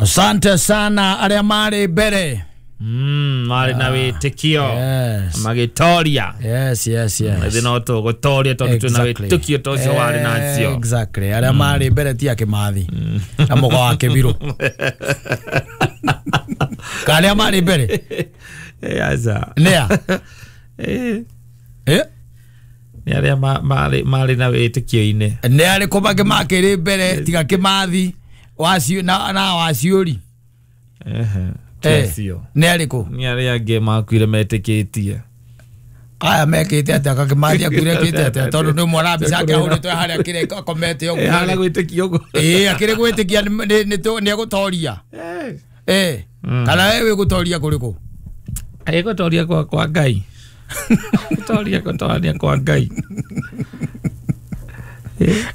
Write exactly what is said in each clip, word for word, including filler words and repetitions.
Asante sana arĩa marĩ mbere. Mm, marĩ na wĩtĩkio. Yes. Magĩtoria. Yes, yes, yes. Ithuĩ no tũgũtoria tondũ twĩna Exactly. wĩtĩkio ta ũcio warĩ nacio. Exactly. Arĩa marĩ mbere ti a Kĩmathi na mũgo wa Kĩbirũ. Ka arĩa marĩ mbere? Eh, aca. Nĩa? Eh, Eh? nĩ arĩa ma- marĩ marĩ na wĩtĩkio-inĩ. Nĩ arĩkũ mangĩ makĩrĩ mbere tiga Kĩmathi wacio na na waciũri? Ehe. Ti Eh, acio. Nĩ arĩkũ? Nĩ arĩa angĩ makuire metĩkĩtie. Aya mekĩte atĩa? Kakĩmathi akuire ekĩte atĩa? Tondũ nĩ ũmwona mbica yake ahũrĩtwo harĩa kĩrĩa akomete ũguo. Eh, harĩa gwĩtĩkia ũguo. Ĩĩ, akĩrĩ gwĩtĩkia nĩ- nĩ- nĩ tũ- nĩ egũtoria. Eh. Eh, kana we wĩ gũtoria kũrĩkũ? Ĩ gũtoria kwa kwa Ngai. Gũtoria gũtoria kwa Ngai.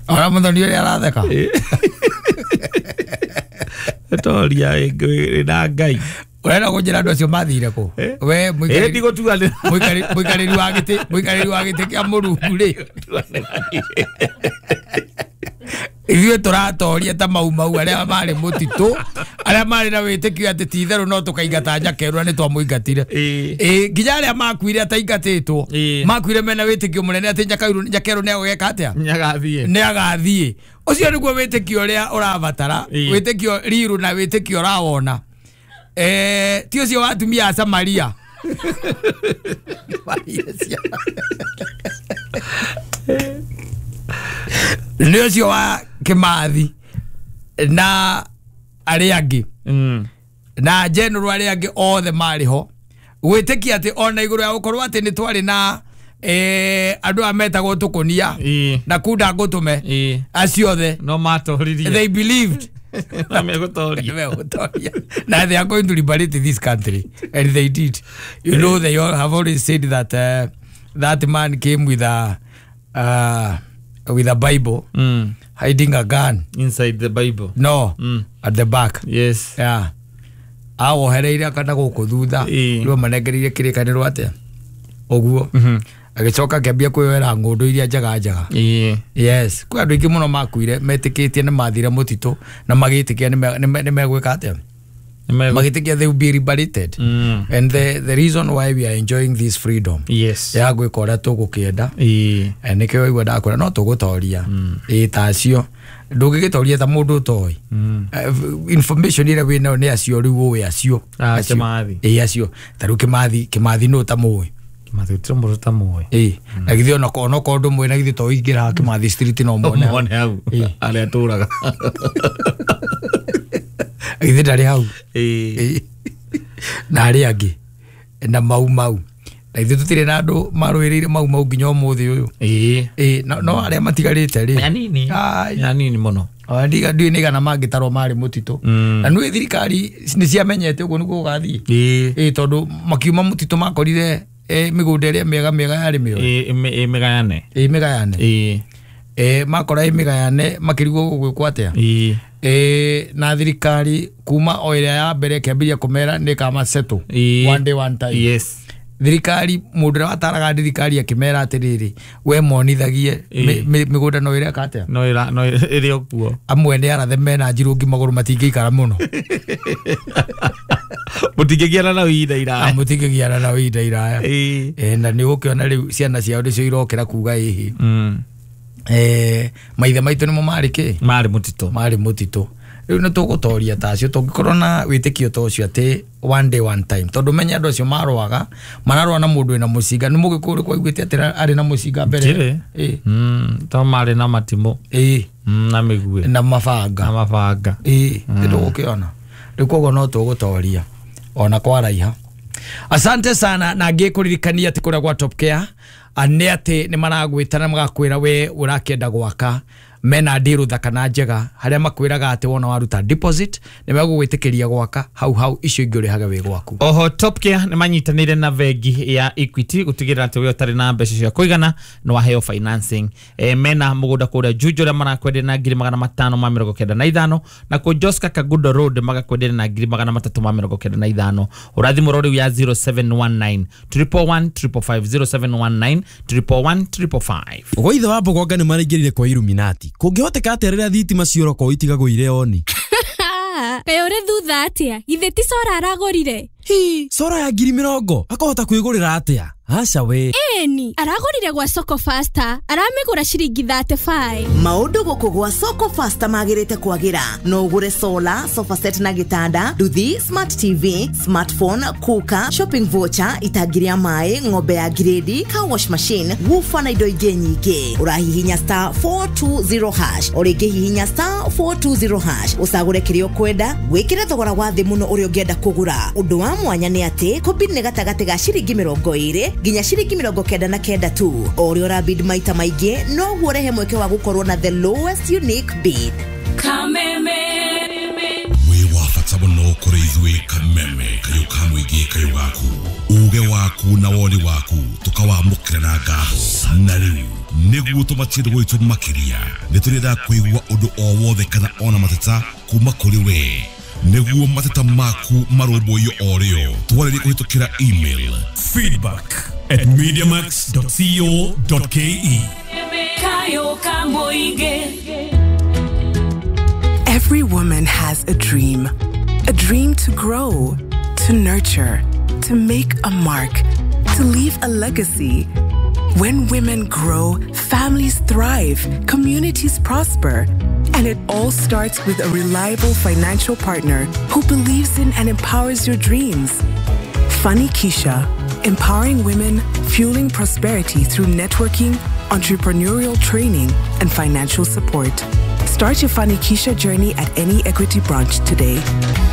Ona mũthoni ũrĩa aratheka. Gũtoria ĩ na Ngai. Ũrenda kũnjĩra andũ acio mathire kũ? Eh? We Ĩ mũikarĩri ndigũtuanĩra. mũikarĩri mũikarĩri wa gĩtĩ mũikarĩri wa gĩtĩ kĩa Mũrungu rĩ. Ithuĩ tũratoria ta mau mau arĩa marĩ mũtitũ, arĩa marĩ na wĩtĩkio atĩ ti itherũ no tũkaingata Nyakerũ na nĩ twamũingatire. Ĩ. Ĩ, nginya arĩa makuire ataingatĩtwo Ĩ. makuire mena wĩtĩkio mũnene atĩ Nyakerũ Nyakerũ nĩ egũgeka atĩa? Nĩagathiĩ. Nĩ agathiĩ. Ũcio nĩguo wĩtĩkio ũrĩa ũrabatara, Ĩ. wĩtĩkio riru na wĩtĩkio ũrawona. Eh, ti ũcio wa atumia a Samaria. Maria ciana. Nĩ ũcio wa Kĩmathi na arĩa angĩ Mm. na general arĩa angĩ othe marĩ ho gwĩtĩkia atĩ ona igũrũ ya gũkorwo atĩ nĩ twarĩ na eh, andũ aya metagwo tũkũnia Ĩ. na kunda ngũtũme Ĩ. acio othe No matoririe. they believed Na megũtoria. Megũtoria. Na they are going to liberate this country, and they did. You know, they all have always said that uh, that man came with a uh, with a Bible, Mm. hiding a gun. Inside the Bible. No, Mm. at the back. Yes. Yeah. Awohereire kana gũkũ thutha Ĩ. rĩu manengereire kĩrĩkanĩro atĩa ũguo Mhm. agĩcoka akĩambia kwĩyoera ng'ũndũ iria njega njega. Ĩ. Yes, kwĩ andũ aingĩ mũno makuire metĩkĩtie nĩ mathire mũtitũ na magĩtĩkia nĩ megwĩka atĩa, Nĩmegũ- magĩtĩkia they will be liberated. Mm. And the, the reason why we are enjoying this freedom Yes. ya gwĩka ũrĩa tũgũkĩenda. Ĩ. Eh, nĩkĩo waigua ndakwĩra no tũgũtoria. Ĩ ta acio ndũngĩgĩtoria ta mũndũ ũtoĩ. Mm. Eh, information ĩrĩa wĩnayo nĩ acio rĩu ũĩ acio. Ah, Acio. Kĩmathi. Ĩ acio ta rĩu Kĩmathi Kĩmathi nũ ũtamũĩ? Kĩmathi gũtirĩ mũndũ ũtamũĩ. Ĩ na githĩ onako onokorwo ndũmũĩ na githĩ to ũingĩra Kĩmathi street no muone hau. Muone hau. Ĩ. Harĩa atũraga. Githĩ ndarĩ hau? Ĩ. Ĩ. Na arĩa angĩ na mau mau na ithuĩ tũtirĩ na andũ marũĩrĩire mau mau nginya ũmũthĩ ũyũ. Ĩ. Ĩ no no arĩa matigarĩte rĩ. Anini. Ai. Anini mũno. Ona ndiga ndiũĩ nĩ igana mangĩtarwo marĩ mũtitũ. Mm. Na nĩũĩ thirikari nĩ ciamenyete ũguo nĩguo gũgathiĩ. Ĩ. Ĩ tondũ makiuma mũtitũ makorire eh, mĩgũnda ĩrĩa mĩega mĩega yarĩ mĩoe. Ĩ ĩ- ĩ mĩgayane. Ĩ mĩgayane. Ĩ. Eh, makora ĩ mĩgayane makĩrigwo gũgwĩkwo atĩa. Ĩ. Eh, na thirikari kuma o ĩrĩa ya mbere ĩkĩambĩrĩria kũmera nĩ ĩkamasettle Ĩ. one day one time. Yes. Thirikari mũndũ ũrĩa wataraga thirikari akĩmera atĩrĩrĩ we monithagie Ĩ. mĩ- mĩ- mĩgũnda no ĩreka atĩa. No ĩra no ĩrĩ o kuo. Amwe nĩ arathe mena njirũngi magũrũ matingĩikara mũno. Mũtingĩgiana nao ihinda iraya. Mũtingĩgiana nao ihinda iraya. Ĩ. Eh, na nĩ ũgũkĩona rĩu ciana ciao nĩcio irokĩra kuga ĩhĩ. Mm. Eh, maithe maitũ nĩmo marĩ kĩ? Marĩ mũtitũ. Marĩ mũtitũ. Rĩu nĩ tũgũtoria ta acio tũngĩkorwo na wĩtĩkio ta ũcio atĩ one day one time tondũ menye andũ acio marũaga mararũa na mũndũ wĩna mũcinga nĩ mũgĩkũyũ ũrĩkũ waiguĩte atĩ arĩ na mũcinga mbere? Ndirĩ. Ĩ. Mm. To marĩ na matimũ. Ĩ. Mm, na mĩguĩ. Na Na mabanga. mabanga. Ĩ nĩ tũgũkĩona rĩu koguo no tũgũtoria ona kwaraiha. Asante sana na ngĩkũririkania atĩ kũrĩa gwa Top Care nĩ atĩ nĩ maragwĩta na magakwĩra we ũrakĩenda gwaka mena ndiru thaka na njega harĩa makwĩraga atĩ wona waruta deposit nĩ megũgwĩtĩkĩria gwaka hau hau icio ingĩ ũrĩhage wĩ gwaku. Oho Top Care nĩ manyitanĩire na bengi ya Equity gũtigĩrĩra atĩ we ũtarĩ na mbeca cia kũigana nĩ waheo financing. E, mena mũgũnda kũrĩa Juja ũrĩa marakwenderia na ngiri magana matano ma mĩrongo kenda na ithano na kũ Joska Kagundo Road magakwenderia na ngiri magana matatũ ma mĩrongo kenda na ithano. Ũrathimũrwo rĩu ya zero seven one nine triple one triple five zero seven one nine triple one triple five. Ũguo ithe wa Mbogonga nĩ maraingĩrire kwa Illuminati. Kũngĩhoteka atĩa rĩrĩa thitima ciora korwo itigagwo irĩ oni? Kaĩ ũrĩ thutha atĩa? Githĩ ti solar aragũrire? Hi, solar ya ngiri mĩrongo akahota kwĩgũrĩra atĩa? Aca we. Ĩni, aragũrire gwa Soko Faster, aramĩgũra ciringi thirty-five. Maũndũ gũkũ gwa Soko Faster magĩrĩte kwagĩra. No ũgũre solar, sofa set na gĩtanda, nduthi, smart T V, smartphone, cooker, shopping voucher, itangi rĩa maĩ, ng'ombe ya grade, car wash machine, woofer na indo ingĩ nyingĩ. Ũrahihinya star four two zero hash, o rĩngĩ hihinya star four two zero hash, ũcagũre kĩrĩa ũkwenda, wĩkĩre thogora wa thĩ mũno ũrĩa ũngĩenda kũgũra. Ũndũ wa mwanya nĩ atĩ kũbid nĩ gatagatĩ ga ciringi mĩrongo ĩrĩ nginya ciringi mĩrongo kenda na kenda tu. O ũrĩa ũrabid maita maingĩ, noguo ũrehe mweke wa gũkorwo na the lowest unique bid. Wĩ wa bata mũno kũrĩ ithuĩ Kameme, kayũ ka mũingĩ, kayũ gaku, uge waku na woni waku tũkawamũkĩra na ngatho. Na rĩu nĩguo tũmatie gwitũ makĩria, nĩ tũrenda kũigua ũndũ o wothe kana ona mateta kuma kũrĩ we, nĩguo mateta maku marũmbũiyo o rĩo. Twarĩrie kũhĩtũkĩra email feedback at mediamax dot co dot K E. Kayo ka mũingĩ. Every woman has a dream. A dream to grow, to nurture, to make a mark, to leave a legacy. When women grow, families thrive, communities prosper. And it all starts with a reliable financial partner who believes in and empowers your dreams. Fanikisha, empowering women, fueling prosperity through networking, entrepreneurial training, and financial support. Start your Fanikisha journey at any Equity branch today.